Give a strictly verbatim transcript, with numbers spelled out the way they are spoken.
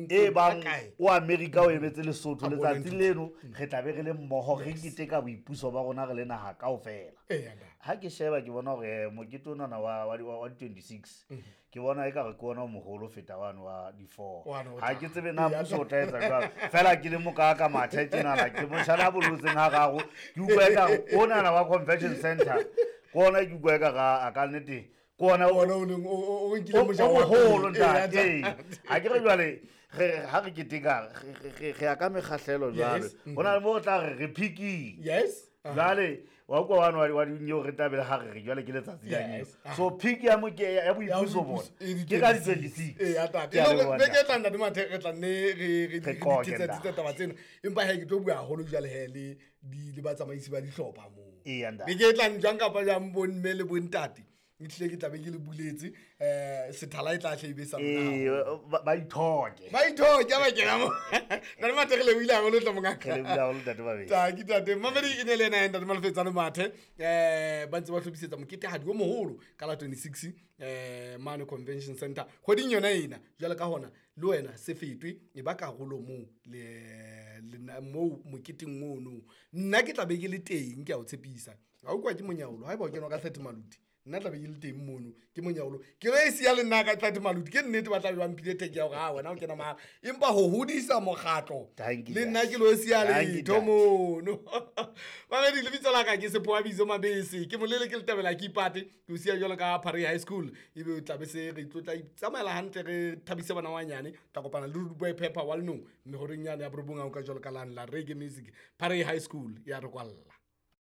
E bang o America o emetse Lesotho letsatsi leno re tla be re le mmoho re keteka boipuso ba rona re le naha kaofela. Ha ke sheba ke bona hore mokete onana wa wa di-twenty-six ke bona ekare ke ona o moholo feta wane wa di-four. Ha ke tsebe na mmuso o tla etsa jwang. Fela ke le moka ka mathe tjenana ke motjhana a bolotseng hararo ke utlwa ekare onana wa convention center ke ona ke utlwa ekare a ka nnete kona o o nkile moja wa holo ntate. Ha ke re jwale re ha re keteka re ya ka mekgahlelo jwale hona le mo tla re re picking. Yes. Jwale wa kwa wa wa dinyo re tabele ha re jwale ke letsatsi la nyo. So pick ya mo ke ya boipuso bona ke ka di-twenty-six. Eh ya tate be ke tla ntate Mathe re tla nne re re ditsetsa taba tsena empa ha ke tlo bua haholo jwale he le di le batsamaisi ba dihlopha moo. Be ke tla njang kapa jang bomme le bontate. Ntle ke tla be ke le buletse eh sethala e tla hle be sa nna eh ba ithoke ba ithoke ba kena mo nna le Mathe re le buile haholo tla mongaka re le buile haholo ntate Babedi ta ke tate Mamedi e ne le ena ntate Malefetsane Mathe eh ba ntse ba hlophisetsa moketehadi o moholo ka la twenty-six eh mane convention center kgweding yona ena jwale ka hona le wena se fetwe e ba karolo mo le mo moketeng ono nna ke tla be ke le teng ke a o tshepisa ha o kwa ke monyaolo ha eba o kenwa ka thirty maluti nna tla be ke le teng mono ke monyaolo ke re siya le nna ka thirty maluti ke nnete ba tla be ba mphile theke ya hore ha wena o kena mahala empa ho hodisa mokgatlo le nna ke lo siya letho mono. Mamedi lebitso la ka ke Sephoa Bitso Mabese ke molele ke letabela ke ipate ke o siya jwalo ka Phare High School ebe o tla be se re tlotla tsamaela hantle re thabise bana banyane tla kopana le Rude Boy Pepper wa lenong mme horeng yane ya borobong a o ka jwalo ka lane la reggae music Phare High School ya re kwalla.